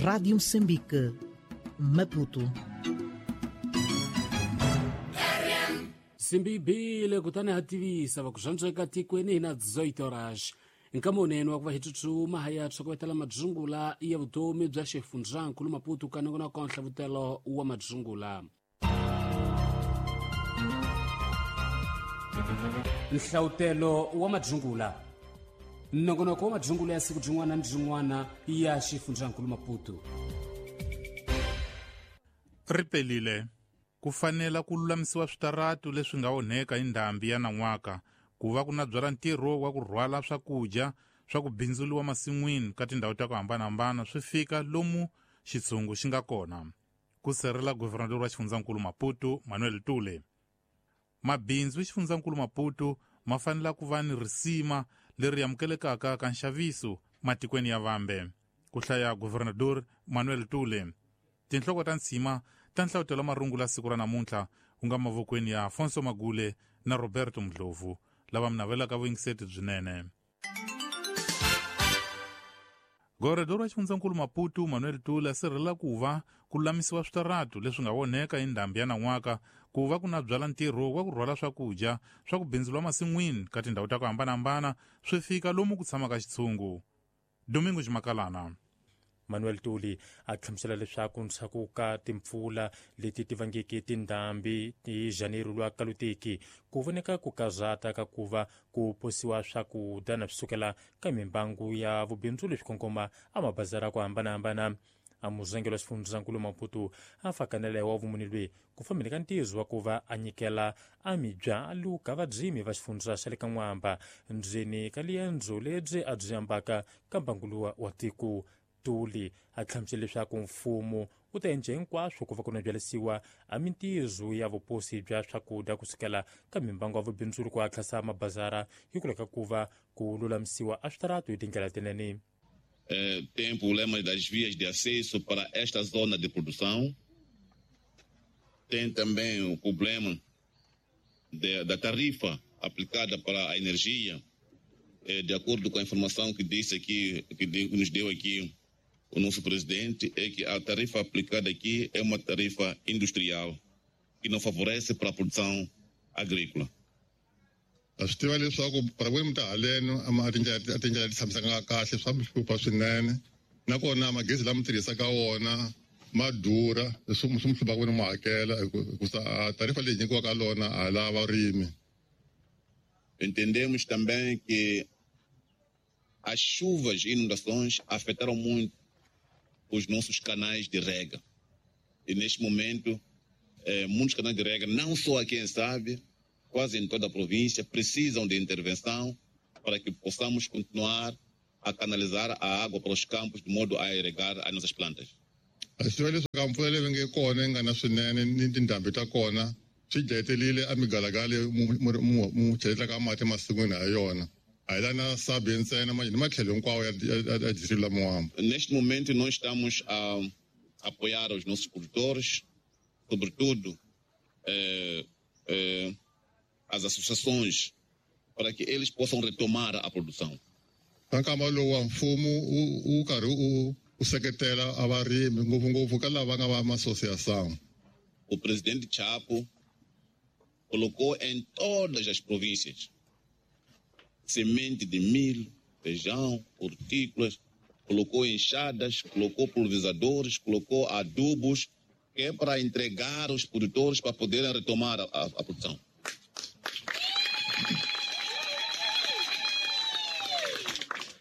Rádio Moçambique, Maputo. Simbibile kutani ha tivisa va ku zvantsweka tikweni na 18 horas nkamunene wa ku va hi tsutsuma ha ya tshokovetela madzungula ya vutomi bya xifundzankulu Maputo ka nongonoko wa nhlavutelo wa madzungula. Nhlavutelo wa madzungula, nongonoko wa madzungula ya siku byin'wana ni byin'wana ya xifundzankulu Maputo. Ri pelile ku fanela ku lulamisiwa switaratu leswi nga onheka hi ndhambi ya nan'waka ku va ku na byala ntirho wa ku rhwala swakudya swa ku bindzuriwa masin'wini ka tindhawu ta ku hambanahambana swi fika lomu xitshungu xi nga kona, ku sirhelela guvernador wa xifundzankulu Maputo Manuel Tule. Mabindzu xifundzankulu Maputo ma fanela ku va ni risima leri amukelekaka ka nxaviso matikweni ya vambe, ku hlaya guvernador Manuel Tule. Tinhloko ta ntshima ta nhlavutelo marungula siku ra namuntlha ku nga mavokweni ya Afonso Magule na Roberto Mdlovu, lava mi navelaka vuyingiseti byinene. Guvernador wa xifundzankulu Maputo Manuel Tule a sirhelela ku va ku lulamisiwa switaratu leswi nga onheka hi ndhambi ya nan'waka ku va ku na byala ntirho wa ku rhwala swakudya swa ku bindzuriwa masin'wini ka tindhawu ta ku hambanahambana swi fika lomu ku tshamaka xitshungu. Domingo Ximakalana. Manuel Tuli a hlamusela leswaku ndzhaku ka timpfula leti ti vangeke tindhambi hi Janeiro lwa kaluteki ku voneka ku kazata ka ku va ku posiwa swakudya na swi sukela ka mimbangu ya vubindzu leswi kongoma a mabazara ku hambanahambana. A muzengelo wa xifundzankulu Maputo a fakanela wa vumuni lweyi ku fambeni ka ntizo wa ku va a nyikela a mibyalu ka vadzimi va xifundza xa le ka N'wamba ndzeni ka liendzo lebyi a byi ambaka ka mbanguluwa wa tiko. Tuli a hlamusela leswaku mfumo wu ta endla hinkwaswo ku va ku na byalisiwa a mintizo ya vuposi bya swakudya kusukela ka mimbangu ya vubindzuri ku hatlasa mabazara hikwalaho ka ku va ku lulamisiwa a switaratu hi tindlela tinene. Tem problema das vias de acesso para esta zona de produção. Tem também o problema da tarifa aplicada para a energia. De acordo com a informação que disse aqui, que nos deu aqui o nosso presidente, é que a tarifa aplicada aqui é uma tarifa industrial que não favorece para a produção agrícola. A swi tiva leswaku para vurimi ta haleno a tindlela ti tshamisaka kahle swa mi hlupha swinene, nakona magezi lama tirhisaka wona ma durha, leswi swi mi hluphaka vona mu hakela hikusa tarifa leyi nyikiwaka lona a la varimi. Entendemos também que as chuvas e inundações afetaram muito os nossos canais de rega. E neste momento, muitos canais de rega, não só aqui em Sábia, quase em toda a província, precisam de intervenção para que possamos continuar a canalizar a água para os campos de modo a irrigar as nossas plantas. A swi tiva leswaku mpfula leyi nge kona yi nga na swinene ni tindhambi ta kona swi dlayetelile a migalagala mu cheletaka mati masin'wini ha yona. A hi la na Sabie ntsena ni matlhelo hinkwawo ya distrito la Moamba. Neste momento nós estamos a apoiar os nossos produtores, sobretudo as associações, para que eles possam retomar a produção. Ka nkama lowu wa mfumo wu karhi u seketela a varimi ngopfungopfu ka lava nga va ma-associação. O presidente Chapo colocou em todas as províncias semente de milho, feijão, hortícolas, colocou enxadas, colocou pulverizadores, colocou adubos, que é para entregar os produtores para poderem retomar a produção.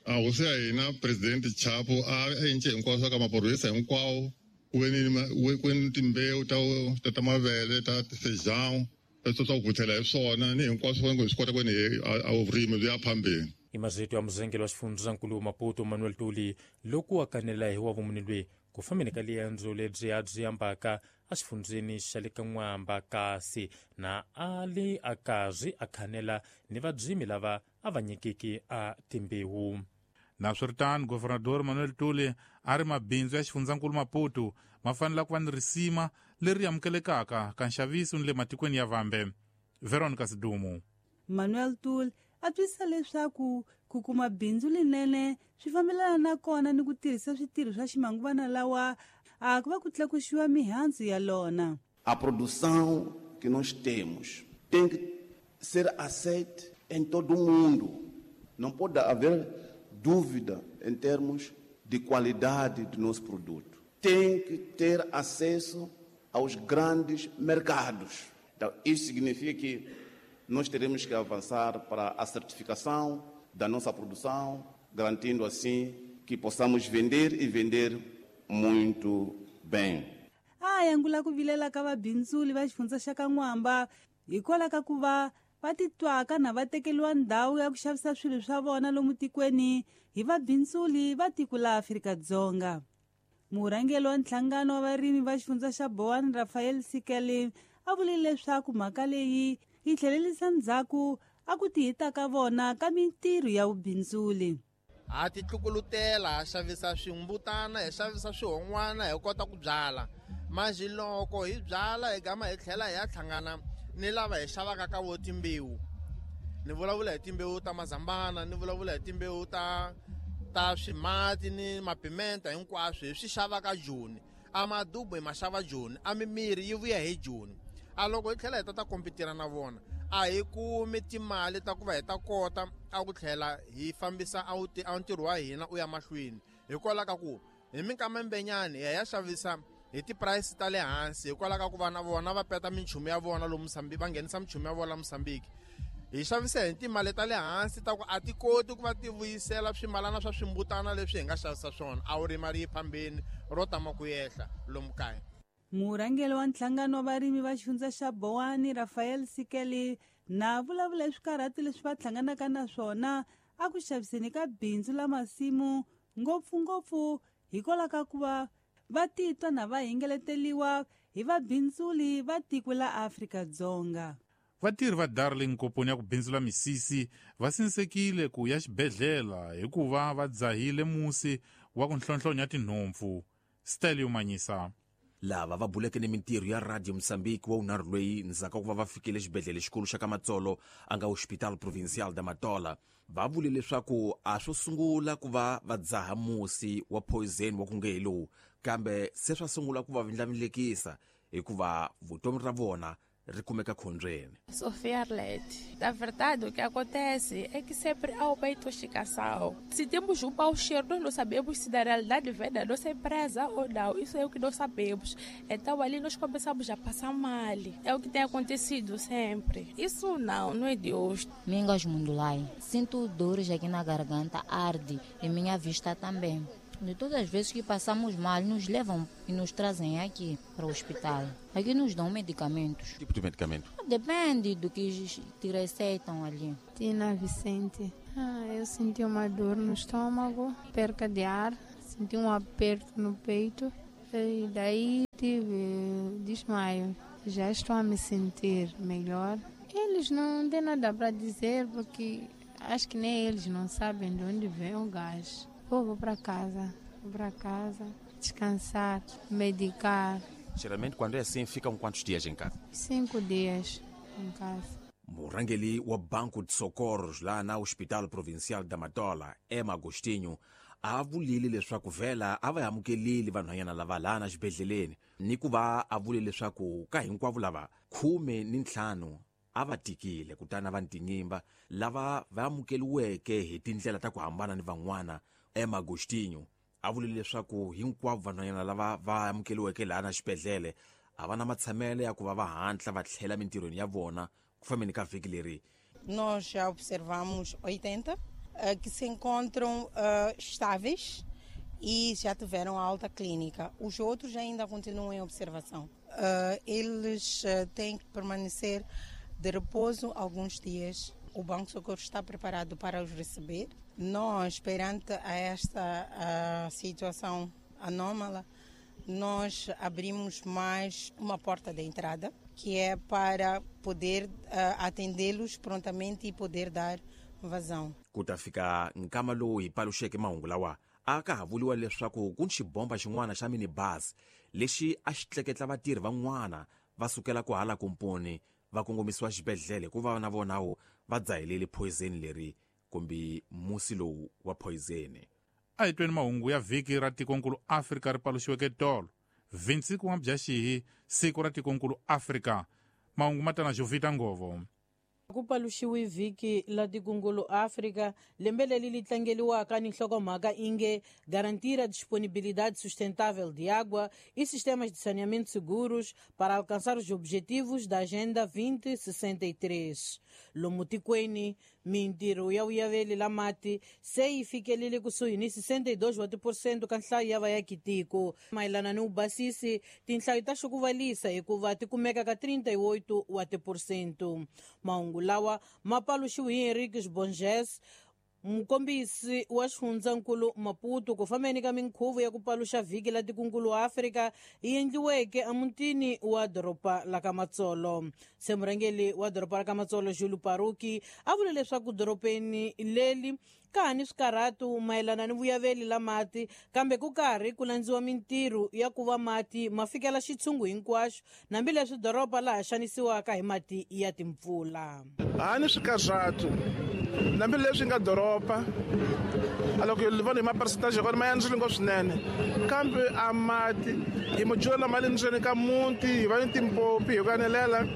A hosi ya hina presidente Chapo a endle hinkwaswo ka maphorisa hinkwawo ku ve ni timbewu ta mavele ta feijão swa ku vuthela hi swona ni hinkwaswo hi swi kota ku ni a vurimi byi ya phambeni. I mazito ya muzengeli wa xifundzankulu Maputo Manuel Tuli loko a kanela hi wa vumuni lweyi ku fambeni ka liendzo lebyi a byi ambaka exifundzeni xa le ka N'wamba, kasi na a li a karhi a khanela ni vadzimi lava a va nyikiki a timbewu. Naswiritano, Governador Manuel Tuli a ri mabindzu ya xifundzankulu Maputo ma fanele ku va ni risima leri amukelekaka ka nxaviso ni le matikweni ya vambe. Veronica Sidumo. Manuel Tuli a twisisa leswaku ku kuma bindzu linene swi fambelana na kona ni ku tirhisa switirho swa ximanguvana lawa a ku va ku tlakuxiwa mihandzu ya lona. A produção que nós temos tem que ser aceita em todo o mundo. Não pode haver dúvida em termos de qualidade do nosso produto. Tem que ter acesso aos grandes mercados. Então, isso significa que nós teremos que avançar para a certificação da nossa produção, garantindo assim que possamos vender e vender muito bem. A yangula ku vilela ka vabindzuli va xifundza xa ka N'wamba hikwalaho ka ku va va titwaka na va tekeriwa ndhawu ya ku xavisa swilo swa vona lomu tikweni hi vabindzuli va tiko la Afrika-Dzonga. Murhangeri wa nhlangano wa varimi va xifundza xa Boane Rafael Sikele a vule leswaku mhaka leyi yi tlhelerisa ndzhaku a ku tihita ka vona ka mintirho ya vubindzuli. Ha titlukulutela, ha xavisa swimbutana, hi xavisa swihon'wana, hi kota ku byala. Manjhe loko hi byala hi gama hi tlhela hi ya hlangana ni lava hi xavaka ka vo timbewu. Ni vulavula hi timbewu ta mazambana, ni vulavula hi timbewu ta swimati ni mapimenta hinkwaswo hi swi xavaka Joni. A madubu hi ma xava Joni, a mimirhi yi vuya hi Joni. A loko hi tlhela hi ta kompitira na vona, a hi kumi timali ta ku va hi ta kota a ku tlhela hi fambisa a ntirho wa hina u ya mahlweni. Hikwalaho ka ku hi minkama mbenyani hi ya xavisa hi ti-price ta le hansi, hikwalaho ka ku va na vona va peta minchumu ya vona lomu Mozambique, va nghenisa minchumu ya vona la Mozambique. Hi xavisa hi timali ta le hansi ta ku a ti koti ku va ti vuyisela swimalana swa swimbutana leswi hi nga xavisa swona. A wu ri mali yi phambeni ro tama ku yehla lomu kaya. Murhangeri wa nhlangano wa varimi va xifundza xa Boane Rafael Sikele na vulavula hi swikarhati leswi va hlanganaka na swona a ku xaviseni ka bindzu la masimu, ngopfungopfu hikwalaho ka ku va va titwa na va hingeleteliwa hi vabindzuli va tiko la Afrika-Dzonga. Vatirhi va Darling komponi ya ku bindzula misisi va sinsekile ku ya xibedhlele hikuva va dzahile musi wa ku nhlonhlonya tinhompfu. Stelio Manyisa. Lava va buleke ni mintirho ya Radio Mozambique wa unharhu loyi ndzhaku ka ku va va fikile xibedhlele xikulu xa ka Matsolo a nga Hospital Provincial da Matola, va vule leswaku a swo sungula ku va va dzaha musi wa poison wa ku nge hi lowu, kambe se swa sungula ku va vindlavindlekisa hikuva vutomi ra vona ri kumeka khombyeni. Sofia Arlete. Na verdade, o que acontece é que sempre há uma intoxicação. Se temos um mau cheiro, nós não sabemos se na realidade vem da nossa empresa ou não. Isso é o que nós sabemos. Então ali nós começamos a passar mal. É o que tem acontecido sempre. Isso não é de hoje. Mingas Mundulai. Sinto dores aqui na garganta, arde e minha vista também. De todas as vezes que passamos mal, nos levam e nos trazem aqui para o hospital. Aqui nos dão medicamentos. Que tipo de medicamento? Depende do que te receitam ali. Tina Vicente. Eu senti uma dor no estômago, perca de ar, senti um aperto no peito e daí tive desmaio. Já estou a me sentir melhor. Eles não têm nada para dizer porque acho que nem eles não sabem de onde vem o gás. Vou para casa, descansar, medicar. Geralmente quando é assim, ficam quantos dias em casa? 5 dias em casa. Murhangeri wa Banco de Socorros lá na Hospital Provincial da Matola, Emma Agostinho, a vulile leswaku vhela a va amukelile vanhwanyana lava laha na xibedhleleni, ni ku va a vule leswaku ka hinkwavo lava 15 a va tikile kutani va ntinyimba lava va amukeliweke hi tindlela ta ku hambana ni van'wana. Emma Agostinho a vule leswaku hinkwavo vanhwanyana lava va amukeliweke laha na xibedhlele a va na matshamelo ya ku va va hatla va tlhela mintirhweni ya vona ku fambeni ka vhiki leri. Nós já observamos 80 que se encontram estáveis e já tiveram alta clínica. Os outros ainda continuam em observação. Eles têm que permanecer de repouso alguns dias. O Banco de Socorro está preparado para os receber. Nós, perante a esta situação anômala, nós abrimos mais uma porta de entrada, que é para poder atendê-los prontamente e poder dar vazão. Ku ta fika nkama lowu hi paluxeke mahungu lawa, a ka ha vuriwa leswaku ku ni xibomba xin'wana xa minibus lexi a xi tleketla vatirhi van'wana va sukela ku hala komponi va kongomisiwa xibedhlele hikuva na vonawo va dzahelele poison leri kumbe musi lowu wa poison. A hi tweni mahungu ya vhiki ra tikonkulu Afrika ri paluxiweke tolo 25 wa Mudyaxihi, siku ra tikonkulu Afrika. Mahungu ma tana Jovita Ngovo. Ku paluxiwe vhiki la tikonkulu Afrika lembe leri li tlangeliwaka ni nhlokomhaka inge garantir a disponibilidade sustentável de água e sistemas de saneamento seguros para alcançar os objetivos da Agenda 2063. Lomu tikweni mintirho ya vuyaveli la mati se yi fikelele kusuhi ni 62% ka nhlayo ya vaakitiko. Mayelana ni vubasisi, tinhlayo ta xukuvalisa hikuva ti kumeka ka 38%. Mahungu lawa ma paluxiwe hi Henriques Bonges, mukombisi wa xifundzankulu Maputo, ku fambeni ka minkhuvo ya ku paluxa vhiki la tikonkulu Afrika yi endliweke emutini wa doroba la ka Matsolo. Se murhangeri wa doroba ra ka Matsolo, Júlio Paruki, a vule leswaku dorobeni leri ka ha ni swikarhatu mayelana ni vuyaveli la mati, kambe ku karhi ku landziwa mintirho ya ku va mati ma fikela xitshungu hinkwaxo, hambileswi doroba laha xanisiwaka hi mati ya timpfula. Ha ni swikarhatu hambileswi nga doroba a loko hi vona hi ma-percentage ya kona ma yandzile ngopfu swinene, kambe a mati hi mujula lama le ndzeni ka muti hi va ni timpopi hi ku anelela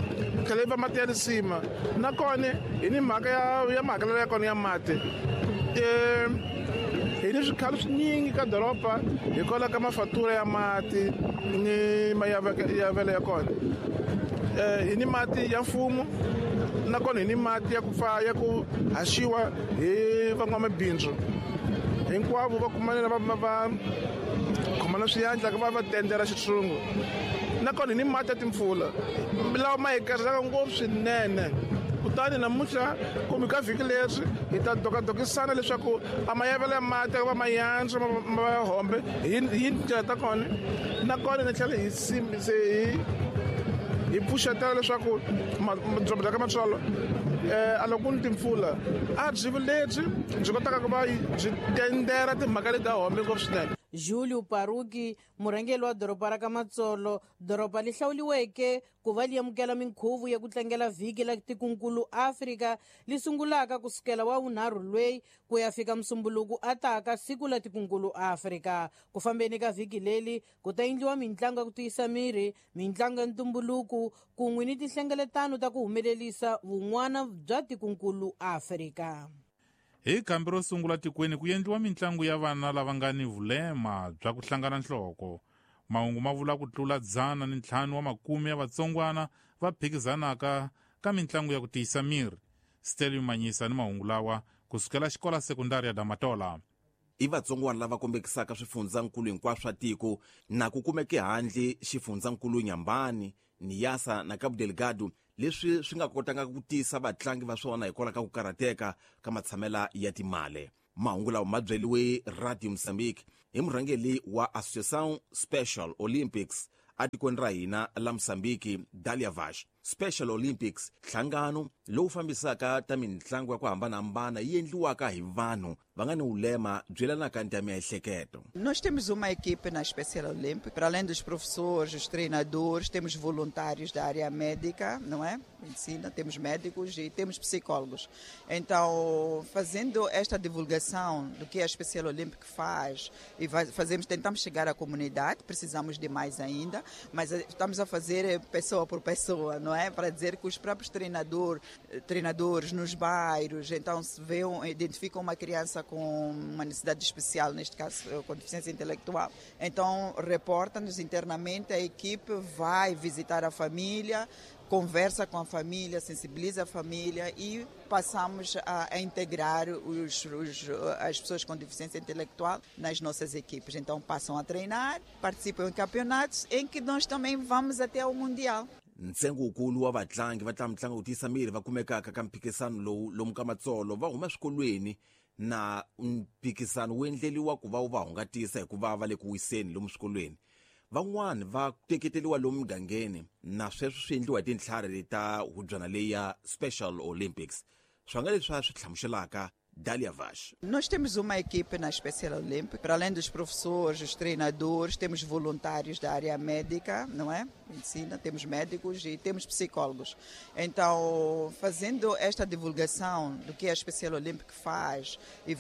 tlhela yi va mati ya risima. Nakona hi ni mhaka ya mahakelelo ya kona ya mati. Hi ni swikhalo swinyingi ka doroba hikwalaho ka mafatura ya mati ni mayavelo ya kona. Hi ni mati ya mfumo, nakona hi ni mati ya ku pfa ya ku haxiwa hi van'wamabindzu hinkwavo va kumanela va khomana swiyandla va va tendela xitshungu. Nakona hi ni mati ya timpfula lawa ma hi karhelaka ngopfu swinene. Kutani namuntlha kumbe ka vhiki leri hi ta dokadokisana leswaku a mayavelo ya mati va mayantswa ma ya hombe hi tindlela ta kona. Nakona ni tlhela hi hi pfuxetela leswaku doroba ra ka Matsolo a loko ku ni timpfula a byi lebyi byi kotaka ku va byi tendera timhaka leti ta hombe ngopfu swinene. Júlio Paruki, murhangeri wa doroba ra ka Matsolo, doroba li hlawuliweke ku va li amukela minkhuvo ya ku tlangela vhiki la tikonkulu Afrika li sungulaka kusukela wa vunharhu lweyi ku ya fika Musumbuluku ataka siku la tikonkulu Afrika. Ku fambeni ka vhiki leri ku ta endliwa mintlangu ya ku tiyisa miri, mintlangu ya ntumbuluko kun'we ni tinhlengeletano ta ku humelerisa vun'wana bya tikonkulu Afrika. Hi kambi ro sungula tikweni ku endliwa mintlangu ya vana lava nga ni vulema bya ku hlangana nhloko. Mahungu ma vula ku tlula 105 wa makume ya vatsongwana va phikizanaka ka mintlangu ya ku tiyisa miri. Stelio Manyisa ni mahungu lawa kusukela xikola sekundari ya Damatola. I vatsongwana lava kombekisaka swifundzankulu hinkwaswo swa tiko na ku kumeke handle xifundzankulu Nyambani, Niassa na Cabo Delgado, leswi swi nga kotanga ku tisa vatlangi va swona hikwalaho ka ku karhateka ka matshamela ya timali. Mahungu lawa ma byeliwe Radio Mozambique hi murhangeri wa Associação Special Olympics atikweni ra hina la Mozambique, Dalia Vash. Special Olympics, nhlangano lowu fambisaka ta mintlangu ya ku hambanahambana yi endliwaka hi vanhu va nga ni ulema byi yelanaka ni ta miehleketo. Nós temos uma equipe na Special Olympic, para além dos professores, os treinadores, temos voluntários da área médica, não é? Medicina, temos médicos e temos psicólogos. Então, fazendo esta divulgação do que a Special Olympic faz e fazemos, tentamos chegar à comunidade, precisamos de mais ainda, mas estamos a fazer pessoa por pessoa, não é? Para dizer que os próprios treinadores nos bairros, então se vê, identificam uma criança com uma necessidade especial, neste caso com deficiência intelectual, então reporta-nos internamente, a equipe vai visitar a família, conversa com a família, sensibiliza a família e passamos a integrar as pessoas com deficiência intelectual nas nossas equipes. Então passam a treinar, participam em campeonatos em que nós também vamos até ao Mundial. Ntsengo wukulu wa vatlangi va tlanga mitlangu yo tiyisa miri va kumekaka ka mphikizano lowu lomu ka Matsolo va huma swikolweni na mphikizano wu endleliwa ku va wu va hungatisa hikuva va le ku wiseni lomu swikolweni. Van'wani va teketeliwa lomu mugangeni na sweswo swi endliwa hi tintlhari ta hubyana leyi ya Special Olympics. Swi nga leswi swi hlamuselaka Dália Vaz. Nós temos uma equipe na Especial Olímpica, para além dos professores, os treinadores, temos voluntários da área médica, não é? Medicina, temos médicos e temos psicólogos. Então, fazendo esta divulgação do que a Especial Olímpica faz e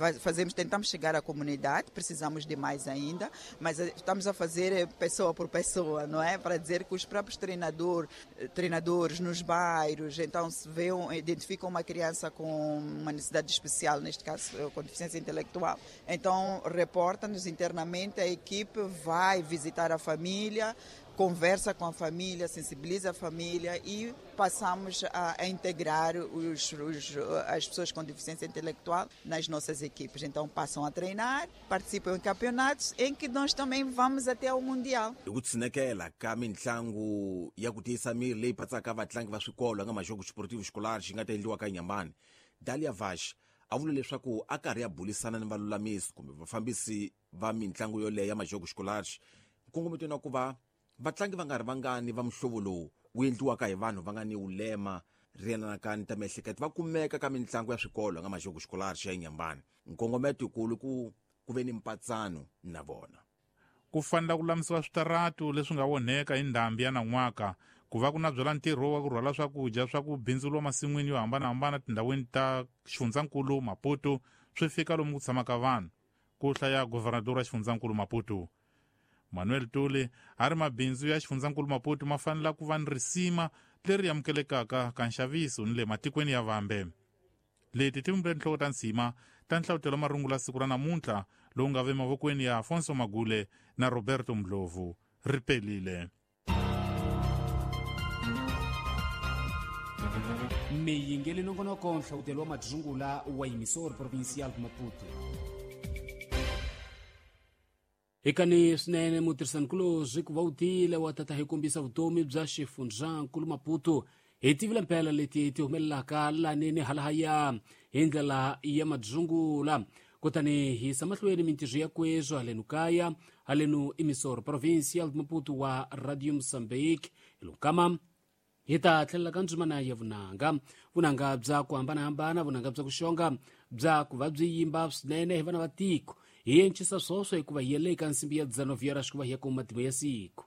tentamos chegar à comunidade, precisamos de mais ainda, mas estamos a fazer pessoa por pessoa, não é? Para dizer que os próprios treinadores nos bairros, então se identificam uma criança com uma necessidade especial, neste caso com deficiência intelectual, então reporta-nos internamente, a equipe vai visitar a família, conversa com a família, sensibiliza a família e passamos a integrar as pessoas com deficiência intelectual nas nossas equipes. Então passam a treinar, participam em campeonatos em que nós também vamos até ao Mundial. Hi ku tshinekela ka mintlangu ya ku tiyisa miri leyi patsaka vatlangi va swikolo nga Majogos Esportivos Escolares yi nga ta endliwa ka Inhambane, Dália Vaz a vula leswaku a karhi ya bulisana ni valulamisi kumbe vafambisi va mintlangu yoleyo ya Majogos Escolares nkongometweni wa ku va vatlangi va nga ri vangani va muhlovo lowu wu endliwaka hi vanhu va nga ni ulema ri yelanaka ni ta miehleketo va kumeka ka mintlangu ya swikolo nga Majogos Escolares ya Inhambane. Nkongometo yikulu ku ve ni mpatsano na vona. Ku fanela ku lulamisiwa switaratu leswi nga onheka hi ndhambi ya nan'waka, ku va ku na byala ntirho wa ku rhwala swakudya swa ku bindzuriwa masin'wini yo hambanahambana tindhawini ta xifundzankulu Maputo swi fika lomu ku tshamaka vanhu, ku hlaya governador wa xifundzankulu Maputo. Manuel Tuli a ri mabindzu ya xifundzankulu Maputo ma fanela ku va ni risima leri amukelekaka ka nxaviso ni le matikweni ya vambe. Leti ti vumbile tinhloko ta nsima ta nhlavutelo marungula siku ra namuntlha lowu nga ve mavokweni ya Afonso Magule na Roberto Ndlovu. Ri pelile. Miyingeli nongonoko nhlavutelo wa madzungula wa Emissora Provincial de Maputo. Hikani swinene mutirhisanikulobye ku va u tile wa tata hi kombisa vutomi bya xifundzankulu Maputo hi tivile mpela leti ti humelelaka lanini halahaya hi ndlela ya madzungula. Kutani hi yisa mahlweni mintirho ya kweswo halenu kaya halenu Emissora Provincial de Maputo wa Radio Mozambique. Hi hi ta tlhelela ka ndzimana ya vunanga, vunanga bya ku hambanahambana, vunanga bya ku xonga, bya ku va byi yimba swinene hi vana va tiko. Hi encisa swoswo hikuva hi yele eka nsimbi ya 19 horas ku va hi ya kuma matimu ya siku.